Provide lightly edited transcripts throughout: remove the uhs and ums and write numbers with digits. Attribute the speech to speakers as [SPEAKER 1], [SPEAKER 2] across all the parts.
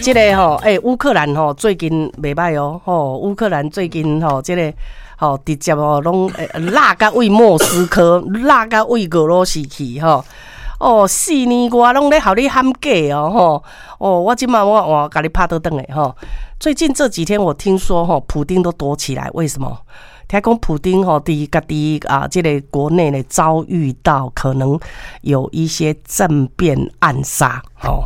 [SPEAKER 1] 這个吼，欸，烏克蘭吼最近袂䆀哦，吼，烏克蘭最近吼，這个吼直接哦攏落甲位莫斯科，落甲位俄羅斯去吼。哦，4年外攏咧予你喊假哦，吼！哦，我這馬我換共你拍倒轉來吼。最近這幾天我聽說吼，普丁都躲起來，為什麼？聽講普丁吼，佇家己啊，這个國內呢遭遇到可能有一些政變暗殺，吼。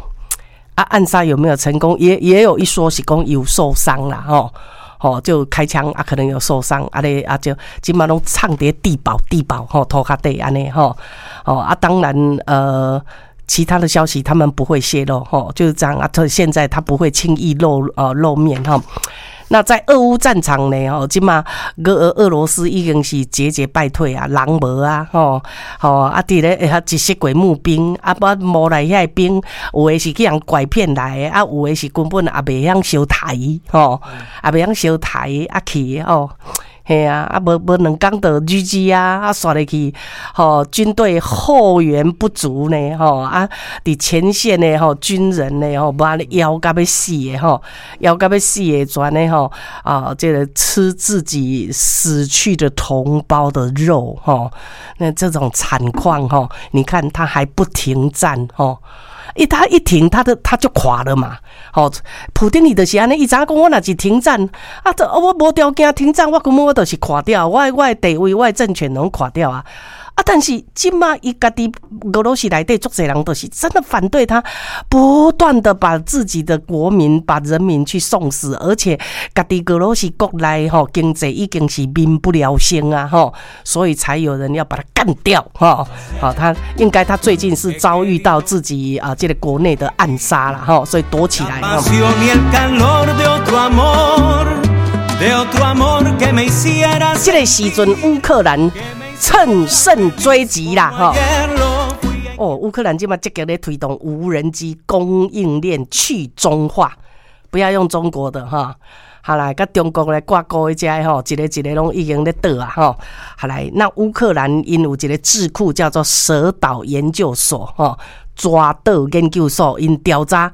[SPEAKER 1] 啊，暗殺有沒有成功？也有一說是講有受傷啦，吼。吼，就開槍啊，可能有受傷，啊咧啊就這馬攏藏佇地堡地堡吼，塗跤底按呢吼，哦啊，當然其他的消息他們不會洩露吼，就是這樣啊。他現在他不會輕易露面吼。那在俄烏戰場呢？吼，這馬俄羅斯已經是節節敗退啊，人無啊，吼吼啊！佇咧遐一些鬼募兵啊，無募來遐兵，有的是去人拐騙來的，啊，有的是根本也袂曉相刣，吼，也袂曉相刣啊去吼。嘿啊，啊無無2工就 GG 啊，啊煞落去，吼，軍隊後援不足呢，吼啊，佇前線的吼軍人呢，吼，無按呢枵甲欲死的吼，枵甲欲死的，全呢吼啊，這个吃自己死去的同胞的肉，吼，那這種慘況，吼，你看他還不停戰，吼。他一停，他就垮了嘛。吼，普丁伊就是按呢，伊知影講我若是停戰，啊，這我無條件停戰，我根本我就是垮掉，我的地位、我的政權攏垮掉啊。啊！但是這馬伊家己俄羅斯內底足濟人都是真的反對他，不斷的把自己的國民、把人民去送死，而且家己俄羅斯國內吼經濟已經是民不聊生啊吼，所以才有人要把他幹掉吼。好，他應該他最近是遭遇到自己啊這個國內的暗殺了吼，所以躲起來。這个時陣烏克蘭乘勝追擊啦，吼！哦，烏克蘭這馬積極咧推動無人機供應鏈去中化，不要用中國的哈。好來，佮中國來掛鈎的這吼，一个一个攏已經咧倒啊，吼。好來，那烏克蘭𪜶有一个智庫叫做蛇島研究所，吼，蛇島研究所，𪜶調查。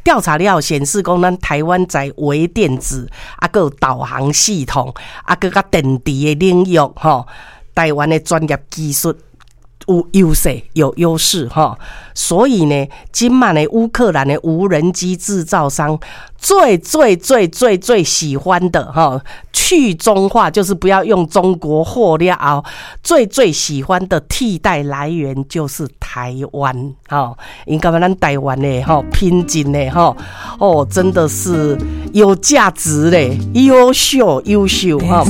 [SPEAKER 1] 調查了後顯示，講咱台灣在微電子啊，閣有導航系統啊，閣佮電池的領域，吼。台灣的專業技術有優勢，有優勢哈，所以呢，這馬呢，烏克蘭的無人機製造商最最最最最喜歡的哈，去中化就是不要用中國貨了後，最最喜歡的替代來源就是台灣哈，𪜶感覺咱台灣的哈品質的哈，哦，真的是有價值嘞，優秀優秀哈。